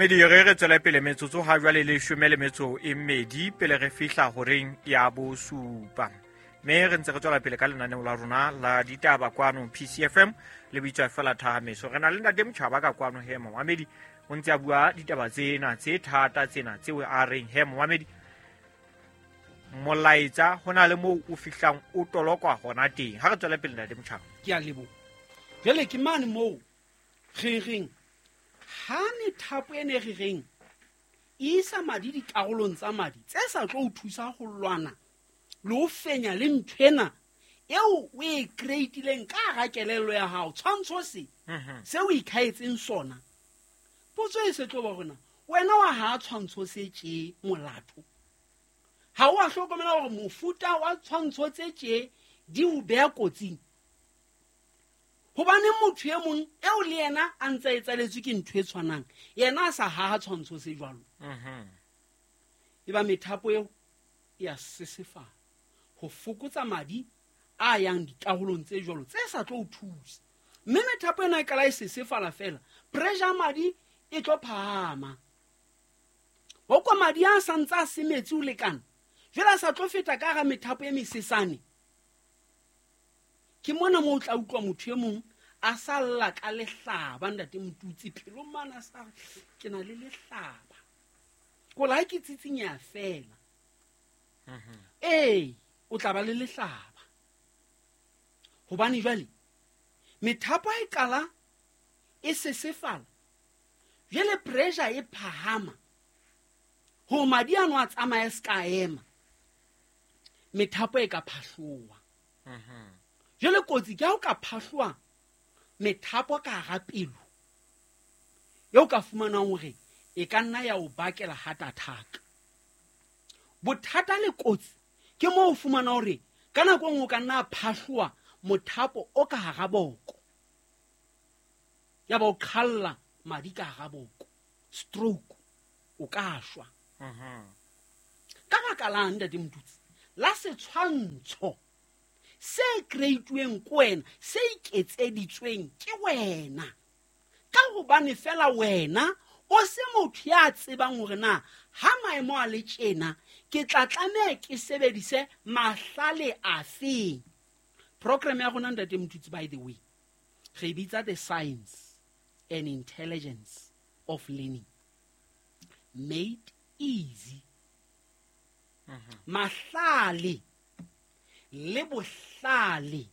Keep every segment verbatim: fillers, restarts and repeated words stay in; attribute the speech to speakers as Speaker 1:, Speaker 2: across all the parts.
Speaker 1: Mamedi re re tswele pele metsotso ha jwale le leshome le metso e mmedi pele re fihla horeng ya bosupa. Mme re ntse re tswela pele ka lenaneo la rona la ditaba kwano P C F M le bitswa fela Thahameso. Re na le ntate Motjhaba ka kwano he momamedi o ntse a bua ditaba tsena tse thata tsena tseo a reng he momamedi molaetsa hona le moo o fihlang o tolokwa hona teng. Ha re tswele pele ntate Motjhaba.
Speaker 2: Ke a leboha. Jwale ke mane moo re reng ha methapo e ne re reng e isa madi dikarolong tsa madi tse sa tlo o thusa ho lwana le ho fenya le nthwena eo o e creatileng ka hara kelello ya hao, tshwantsho se se o ikhaetseng sona. Potso e se tlo ba rona, wena wa ha tshwantsho se tje molato? Ha o a hlokomela hore mofuta wa tshwantsho tse tje di o beha kotsing? Hobane motho e mong eo le yena a ntse a etsaletswe ke ntho e tshwanang, yena a sa haha tshwantsho se jwalo. E ba methapo eo e a sesefala ho fokotsa madi a yang dikarolong tse jwalo tse sa tlo o thusa. Mme methapo ena e qala e sesefala fela, pressure ya madi e tlo phahama. Ho kwa madi a sa ntse a se metsi ho lekana, jwale a sa tlo feta ka hara methapo e mesesane. Ke mona moo o tla utlwa motho e mong a sa lla ka lehlaba, ntate Motutsi, pelong mane a sa re, ke na le lehlaba. Ko la ha ke tsitsinyeha fela. Ee, o tla ba le lehlaba. Hobane jwale methapo e qala e sesefala, jwale pressure e phahama hore madi ano a tsamaye se ka ema, methapo e ka phahloha. Jwale kotsi ke ha o ka phahloha methapo ka hara pelo, eo ka fumanang hore e ka nna ya o bakela heart attack. Bothata le kotsi ke moo o fumana hore ka nako e nngwe o ka nna phahloha mothapo o ka hara boko, ya ba o qhalla madi ka hara boko, stroke, o ka shwa. Ka baka lang ntate Motutsi, la setshwantsho se creatuweng ke wena, se iketseditsweng ke wena, ka hobane fela wena o se motho ya tsebang hore na ha maemo a le tjena ke tla tlameha ke sebedise mahlale afeng. Program ya rona ntate Motutsi, by the way, re bitsa the science and intelligence of learning made easy. Mahlale le bohlale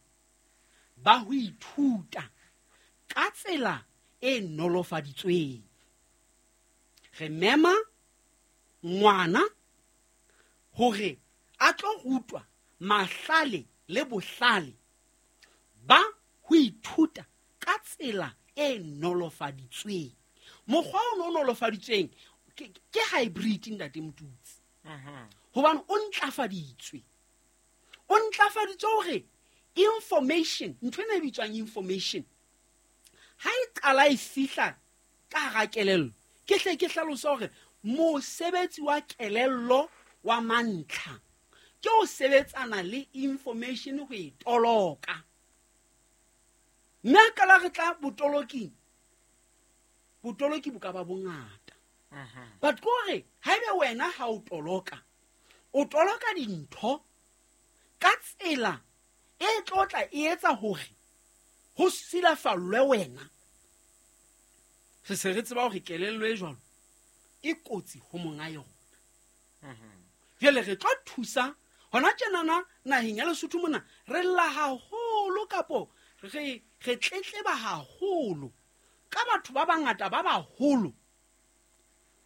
Speaker 2: ba ho ithuta ka tsela e nolofaditsweng. Re mema ngwana hore a tlo rutwa mahlale le bohlale ba ho ithuta ka tsela e nolofaditsweng. Mokgwa o no nolofaditsweng ke, ke hybrid ntate Motutsi. Hobane o ntlafaditswe. O ntlafaditswe hore information, ntho ena e bitswang information, ha e qala e fihla ka hara kelello, ke hle ke hlalosa hore mosebetsi wa kelello wa mantlha ke ho sebetsana le information ho e toloka. Mme ha qala re tla botoloking, botoloki bo ka ba bongata. But ke hore haebe wena ha o toloka, o toloka dintho ka tsela e tlo tla e etsa hore ho silafallwe wena. Re se re tseba hore kelello e jwalo e kotsi ho monga yona. Jwale re tlo thusa hona tjenana naheng ya Lesotho mona, re lla haholo kapo re, re tletleba haholo ka batho ba bangata ba baholo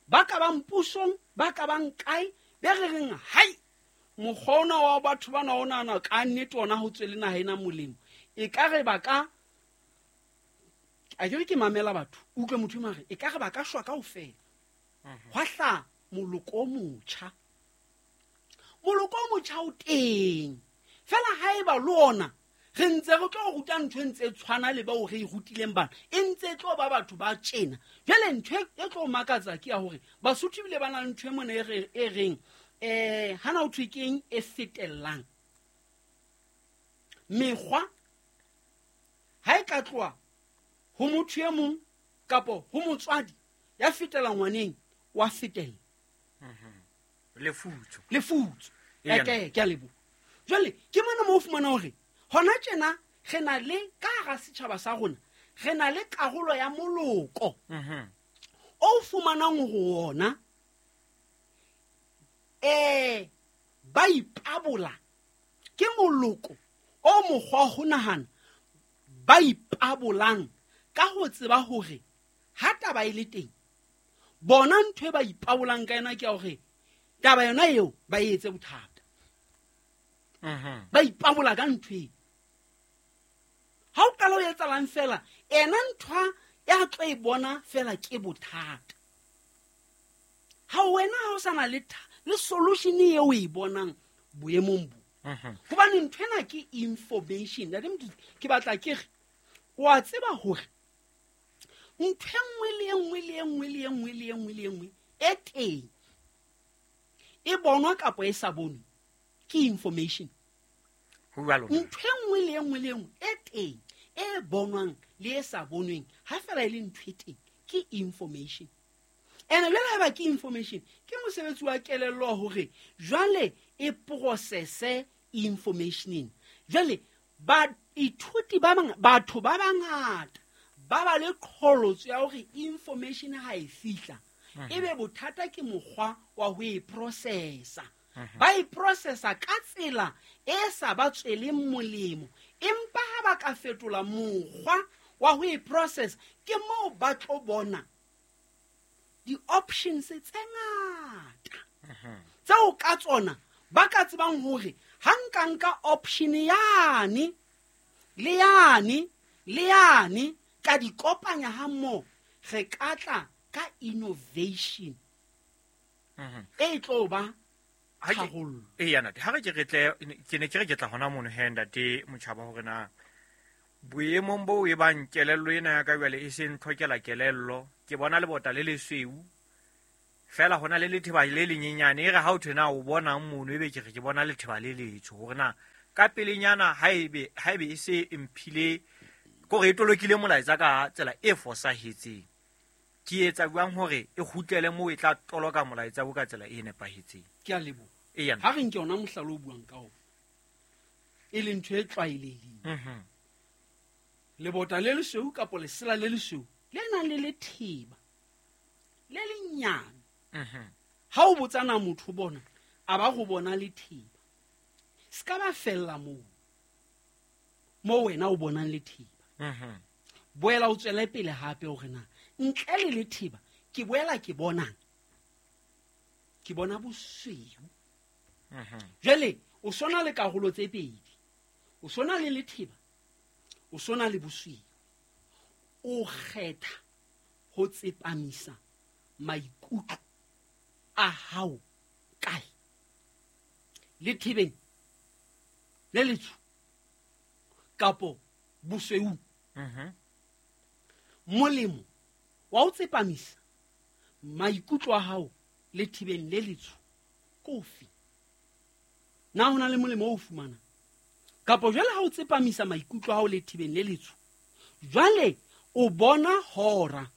Speaker 2: ba ka bang pusong, ba ka bang kae, be re reng hai mokgwa ona wa batho bana o nahana ka nnete ona ho tswele naha ena molemo. E ka re ba ka, a ke re ke mamela batho, utlwe motho mare, e ka re ba ka shwa kaofela. Hwa hlaha moloko o motjha. Moloko o motjha o teng. Fela haeba le ona re ntse re tlo ruta ntho e ntse tshwana le bao re e rutileng bana, e ntse e tlo ba batho ba tjena. Jwale ntho e tlo makatsa ke ya hore Basotho ebile ba na le ntho e mona e re, e reng, eh, hana ho thwe keng e fetellang. Mekgwa ha e ka tloha ho motho e mong kapo ho motswadi Ya fetela ngwaneng, wa fetela.
Speaker 1: Lefutso.
Speaker 2: Lefutso.
Speaker 1: Eya.
Speaker 2: Eke, ke a leboha. Jwale, ke mona moo o fumana hore hona tjena re na le ka hara setjhaba sa rona, re na le karolo ya moloko.
Speaker 1: Mhm.
Speaker 2: O fumanang hore ona, eh, ba ipabola. Ke moloko o mokgwa wa ho nahana ba ipabolang ka ho tseba hore ha taba e le teng, bona ntho e ba ipabolang ka yona ke ya hore taba yona eo ba e etse bothata.
Speaker 1: Mhm.
Speaker 2: Ba ipabola ka ntho eo. Ha o qala o etsahalang fela, ena ntho ya tlo e bona fela ke bothata. Ha wena ha o sa na le tha-, le solution eo o e bonang boemong bo.
Speaker 1: Mhm.
Speaker 2: Hobane ntho ena ke information. Ntate Mothusi, ke batla ke re, wa tseba hore ntho e nngwe le e nngwe le e nngwe le e nngwe le e nngwe le e nngwe e teng, e bonwa kapa e sa bonwe, ke information.
Speaker 1: Ho jwalo na?
Speaker 2: Ntho e nngwe le e nngwe le e nngwe e teng, e bonwang le e sa bonweng, ha fela e le ntho e teng, ke information. Ene jwale ha eba ke information, ke mosebetsi wa kelello wa hore jwale e process-e information ena. Jwale baithuti ba bang, batho ba bangata ba ba le qholotso ya hore information ha e fihla,
Speaker 1: Mhm.
Speaker 2: ebe bothata ke mokgwa wa ho e processa.
Speaker 1: Mhm.
Speaker 2: Ba e processa ka tsela e sa ba tsweleng molemo, empa ha ba ka fetola mokgwa wa ho e process, ke moo ba tlo bona di-options tse ngata
Speaker 1: Mhm.
Speaker 2: tseo ka tsona ba ka tsebang hore ha nka nka option yane le yane le yane ka di kopanya ha mmoho, re ka tla ka innovation
Speaker 1: Mhm.
Speaker 2: e tlo ba
Speaker 1: Ha ke-
Speaker 2: tharollo.
Speaker 1: Eya, ntate, ha re ke re tle, ke ne ke re ke tla hona mono he, ntate Motjhaba, hore na boemong bo e bang kelello ena ya ka jwale e se ntlhokela kelello, ke bona lebota le lesweu fela hona le letheba le lenyenyane, e re ha o thwe na o bonang mono, ebe ke re ke bona letheba le letsho, hore na ka pelenyana ha ebe, ha ebe e se e mphile, kore e tolokile molaetsa ka tsela e fosahetseng, ke etsa jwang hore e kgutlele moo e tla toloka molaetsa o ka tsela e nepahetseng?
Speaker 2: Ke a leboha.
Speaker 1: Eya.
Speaker 2: Ha re nke yona mohlala o buang ka ona, e leng ntho e tlwaelehileng.
Speaker 1: Mhm.
Speaker 2: Lebota le lesweu kapa lesela le lesweu le nang le letheba le lenyane.
Speaker 1: Mhm.
Speaker 2: Ha o botsana motho bona, a ba go bona letheba. Se ka ba fella moo, moo wena o bonang letheba.
Speaker 1: Mhm.
Speaker 2: Boela o tswele pele hape hore na ntle le letheba ke boela ke bonang, ke bona bosweu.
Speaker 1: Mhm.
Speaker 2: Jwale o sona le karolo tse pedi, o sona le letheba, o sona le bosweu. O kgetha ho tsepamisa maikutlo a hao kae? Lethebeng le letsho kapo bosweu?
Speaker 1: Mhm.
Speaker 2: Molemo wa ho tsepamisa maikutlo a hao lethebeng le letsho ke ofe? Na ho na le molemo o fumanang? Kapo jwale ha o tsepamisa maikutlo a hao lethebeng le letsho, jwale o bona hora,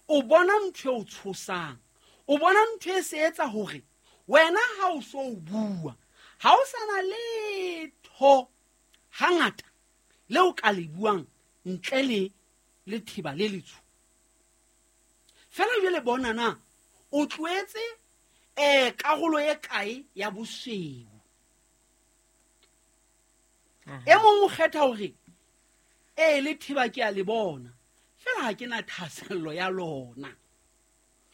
Speaker 2: o bona ntho e o tshosang, o bona ntho e se etsa hore wena ha o so o bua, ha o sa na letho hangata le o ka le buang ntle le letheba le letsho. Fela jwale bona na o tlohetse, eh, karolo e kae ya bosweu?
Speaker 1: Mhm.
Speaker 2: E mong o kgetha hore, ee, letheba ke a le bona, fela ha ke na thahasello ya lona,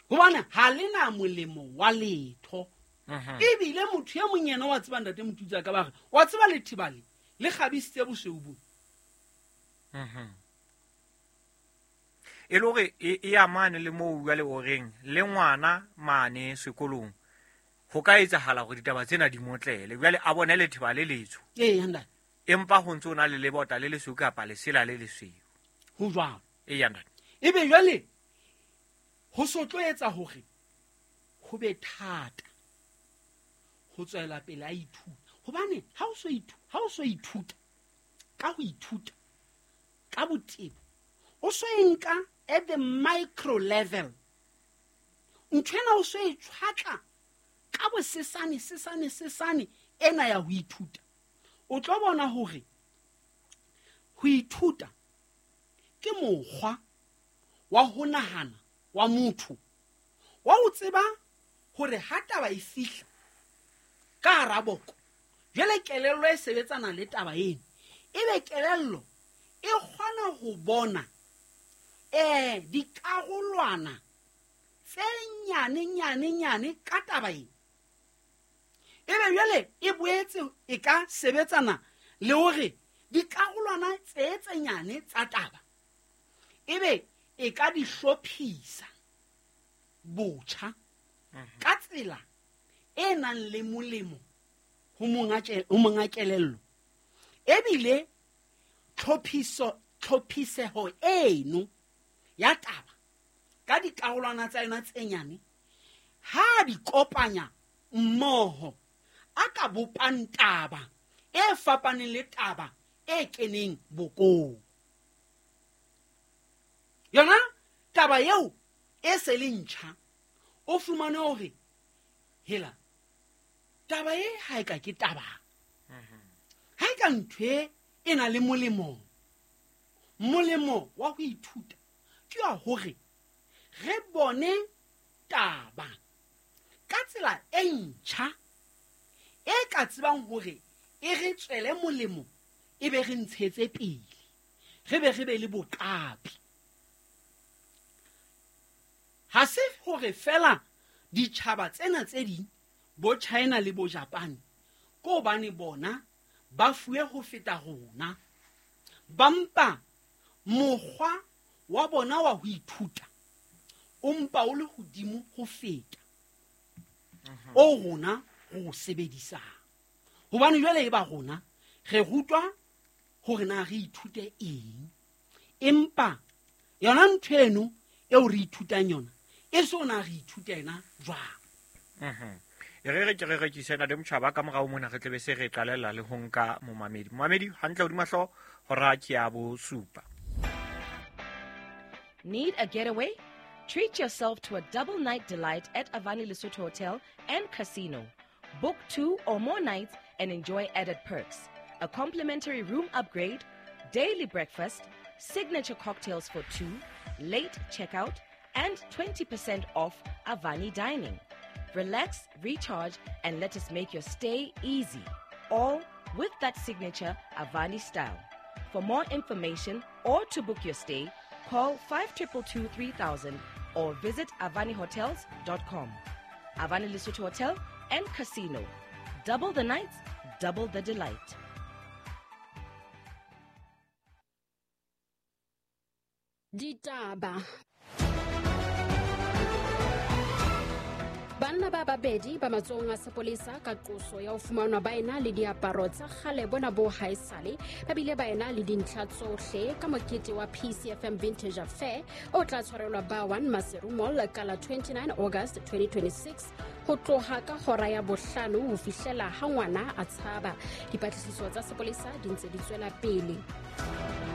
Speaker 2: hobane ha le na molemo wa letho.
Speaker 1: Mhm.
Speaker 2: Ebile motho e mong yena wa tseba, ntate Motutsi a ka ba re, wa tseba letheba le, le kgabisitse bosweu bo.
Speaker 1: Mhm. E le hore e, e amane le moo jwale o reng le ngwana mane sekolong, ho ka etsahala hore ditaba tsena di motlele, jwale a bone letheba le letsho.
Speaker 2: Ee, ntate.
Speaker 1: Empa ho ntse ho na le lebota le lesweu kapa lesela le lesweu.
Speaker 2: Ho jwalo.
Speaker 1: Eya, ntate.
Speaker 2: Ebe jwale ho so tlo etsa hore ho be thata ho tswela pele a ithuta, hobane ha o so ithu-, ha o so ithuta ka ho ithuta ka botebo, o so e nka at the micro level. Ntho ena o so e tshwatla ka bosesane sesane sesane ena ya ho ithuta, o tlo bona hore ho ithuta ke mokgwa wa ho nahana wa motho wa ho tseba hore ha taba e fihla ka hara boko, jwale kelello e sebetsana le taba eno, ebe kelello e kgona ho bona eh dikarolwana tse nyane nyane nyane ka taba eno. Ebe jwale e boetse e ka sebetsana le hore dikarolwana tse tse nyane tsa taba ebe e ka di hlophisa botjha ka tsela e nang le molemo ho monga ho monga kelello. Ebile tlhophiso tlhophiseho eno ya taba ka dikarolwana tsa yona tse nyane ha di kopanya mmoho a ka bopang taba e fapaneng le taba e keneng bokong. Yona taba eo e se le ntjha, o fumane hore hela taba e ha e ka ke taba, ha e ka ntho e e na le molemo. Molemo wa ho ithuta ke wa hore re bone taba ka tsela e ntjha e ka tsebang hore e re tswele molemo, e be re ntshetse pele, re be re be le boqapi. Ha se hore fela ditjhaba tsena tse ding bo China le bo Japan ko hobane bona ba fuwe ho feta rona, ba mpa mokgwa wa bona wa ho ithuta o mpa o le hodimo ho feta o rona re o sebedisang. Hobane jwale e ba rona re rutwa hore na re ithute eng, empa yona ntho eno eo re ithutang yona e so na re ithuta yona jwang.
Speaker 1: Mhm. E re re ke re rekisena le motjhaba ka morao mona re tlebe se re qalella le ho nka momamedi. Momamedi hantle hodima hlooho hora ke ya bosupa.
Speaker 3: Need a getaway? Treat yourself to a double night delight at Avani Lesotho Hotel and Casino. Book two or more nights and enjoy added perks. A complimentary room upgrade, daily breakfast, signature cocktails for two, late checkout, and twenty percent off Avani dining. Relax, recharge, and let us make your stay easy. All with that signature Avani style. For more information or to book your stay, call five two two two three thousand or visit avani hotels dot com. Avani Lesotho Hotel and Casino. Double the nights, double the delight.
Speaker 4: Ditaba. Banna ba babedi ba matsohong a sepolesa ka qoso ya ho fumanwa ba ena le diaparo tsa kgale bona bo haesale, ba bile ba ena le dintlha tsohle ka mokete wa P C F M Vintage Affair o tla tshwarelwa ba one Maseru Mall ka la twenty-nine August twenty twenty-six ho tloha ka hora ya bohlano ho fihlela ha ngwana a tshaba. Dipatlisiso tsa sepolesa di ntse di tswela pele.